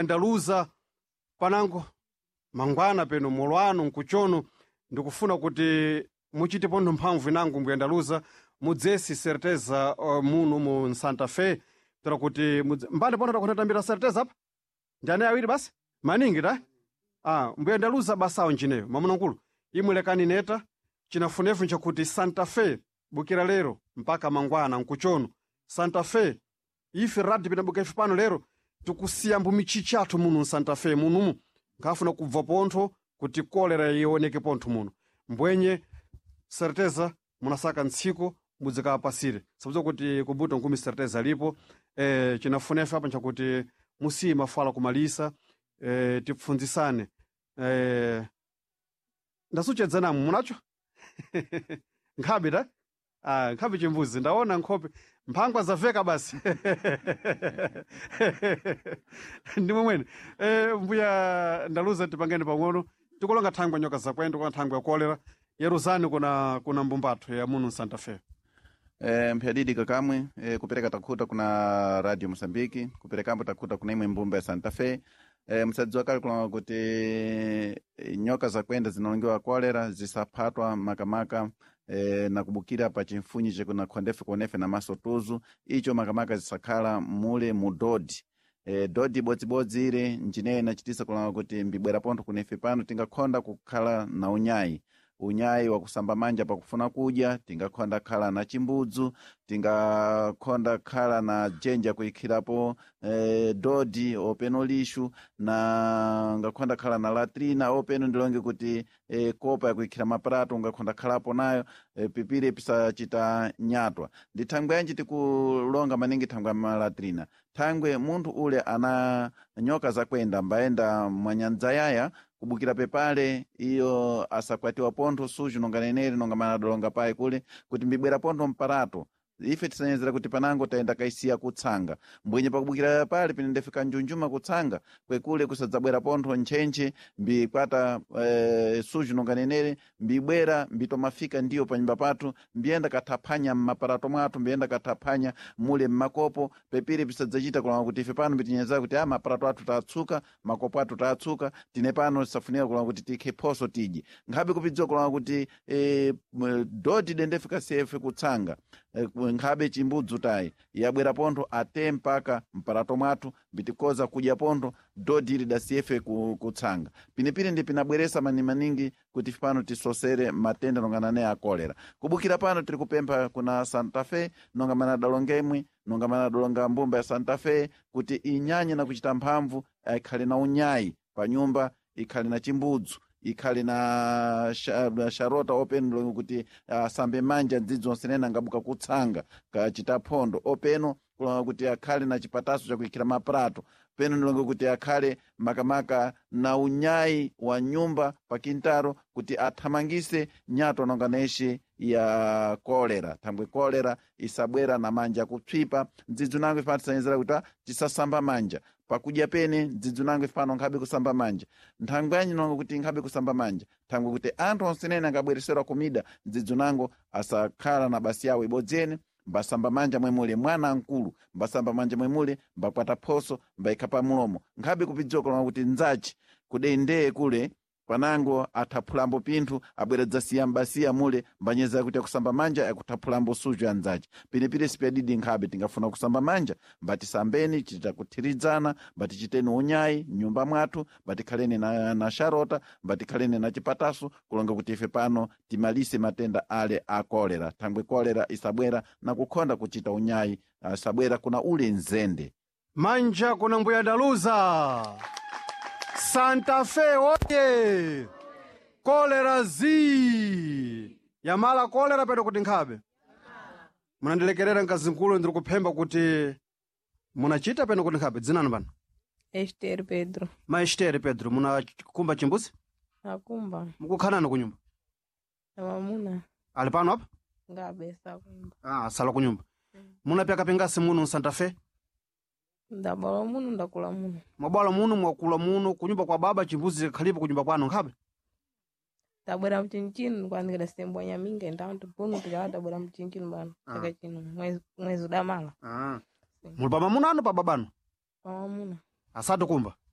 Ndaluza panango mangwana peno molwano nkuchono ndikufuna kuti muchite pontho mphamvu inango mbuyandaluza mudzesi certeza muno mu Santa Fe tera kuti mbali pontho takunatambira certeza apa ndi anayi awiri basi maningi ta mbuyandaluza basawo njineyo mamunankulu imwe lekani neta chinafunefu nchakuti Santa Fe bukira lero mpaka mangwana nkuchono Santa Fe ife radi pinabuka ife pano lero tikusiya mbumichichi athu muno msanta Fe munumu nkhafuna kubva pontho kuti kolera ioneke pontho muno mbwenye certeza munasaka ntsiku mudzikapasire sabza kuti kubuto nkumi certeza lipo chinafunefe apa nchakuti musiye mafala kumalisa tipfunzisane ndasuchedza namwe munacho nkhabe ta nkhabe chimbuzi ndaona nkhope mphangwa zaveka basi ndimwe mwene mbuya ndaluza tipangeni pang'ono tikulonga thangwe nyoka zakwenda kuna thangwe ya kolera yeruzani kuna mbumbatho ya muno Santa Fe. Mphyadidi kakamwe kupereka takhuta kuna Radio Mosambiki kuperekambo takhuta kuna imwe mbumba ya Santa Fe. Msadziwa kale kulonga kuti nyoka zakwenda zinalongewa kolera zisaphatwa makamaka na kubukira pa chimfunyi chekuna khondefe kuonefe na maso tuzu icho makamaka zisakhala mule mu dodi dodi ibodzibodzi ile njineyo inachitisa kulonga kuti mbibwera pontho kunefe pano tingakhonda kukhala na unyayi unyayi wakusamba manja pakufuna kudya tingakhonda khala na chimbudzu tingakhonda khala na jenja kuikhirapo dodi openo lixu na ngakhonda khala na latrina openo ndilonge kuti kopa yakuikhira maprato ungakhonda khalapo nayo pipire pisachita nyatwa ndi thangwe yanji tikulonga maningi thangwe ya malatrina thangwe munthu ule ana nyoka zakwenda mbayenda mwanyandza yaya kubukira pepale iyo asakwatiwa pontho suju nonga neneri nonga manadolonga payi kule kuti mbibwera pontho mparato ife tisanyezera kuti panango tayenda kaisiya kutsanga mbwenye pakubukira pale pine ndefika njunjuma kutsanga kwekule kusadzabwera pontho ntchentche mbikwata suju nonga nenere mbibwera mbitomafika ndiyo panyumba pathu mbiyenda kathaphanya mmaparato mwathu mbiyenda kathaphanya mule mmakopo pepire pisadzachita kulanga kuti ife pano mbitinyezera kuti maparato athu tatsuka makopo athu tatsuka tine pano tisafunika kulanga kuti tikhe phoso tidye nkhabe kupidziwa kulanga kuti dodi dendefika sefe kutsanga nkhabe chimbudzu tayi yabwera pontho ate mpaka mparato mwathu mbitikoza kudya pontho dodi ili dasiyefe kutsanga pinepine ndi pinabweresa manimaningi kuti pano tisosere matenda nongana ne a kolera kubukira pano tiri kupempha kuna Santa Fe nonga manadalonga imwe nonga manadalonga mbumba ya Santa Fe kuti inyanye na kuchita mphamvu ikhale na unyayi pa nyumba ikhale na chimbudzu ikhale na sharota openo kuti asambe manja ndzidzi onse angabuka kutsanga kachita phondo openo kulonga kuti akhale na chipataso chakuikhira maprato peno ndilonge kuti akhale makamaka na unyayi wa nyumba pa kintaro kuti athamangise nyato nonga neshe ya kolera thangwe kolera isabwera na manja kupsipa ndzidzi nango ife tisanyezera kuti tisasamba manja pakudya pene ndzidzi nango ife pano nkhabe kusamba manja nthangwe yanyi nonga kuti nkhabe kusamba manja thangwe kuti anthu onsenene angabwereserwa kumida ndzidzi nango asakhala na basi yawo ibodzene mbasamba manja mwemule mwana mkulu mbasamba manja mwemule mbakwata phoso mbaikha pa mulomo nkhabe kupidziwa kulonga kuti nzachi kudendeye kule panango athaphulambo pinthu abweredza siya mbasiya mule mbanyeza kuti akusamba manja akutaphulambo suju anzace pinepire sipyadidi nkhabe tingafuna kusamba manja mbatisambeni titakuthirizana mbatichiteni unyayi mnyumba mwathu mbatikhaleni na sharota mbatikhaleni na chipataso kulonga kuti ife pano timalise matenda ale a kolera thangwe kolera isabwera na kukhonda kuchita unyayi asabwera kuna ule nzende manja kuna mbuya ndaluza Santa Fe oye kolera zi yamala kolera pedo kuti nkhabe munandilekerera mkazinkulu ndiri kuphemba kuti munachita peno kuti nkhabe dzinani pano Esther Pedro. Ma Esther Pedro munakumba chimbuzi Akumba. mukukhanani kunyumba Na mamuna. ali pano apa Ngabe sakumba. Sala kunyumba munapyaka pingasi muno Santa Fe Ndabala muno ndakula muno. mwabwala muno mwakula muno kunyumba kwa baba chimbuzi khalipo kunyumba kwanu nkhabe Tabwera mchinchini kwanikira sembwa nyaminga ndantu puno tikala tabwera mchinchini bano chaka chino mwezi udamala. Muli pa mamuna anu pa babanu Pa mamuna. Asante kumba.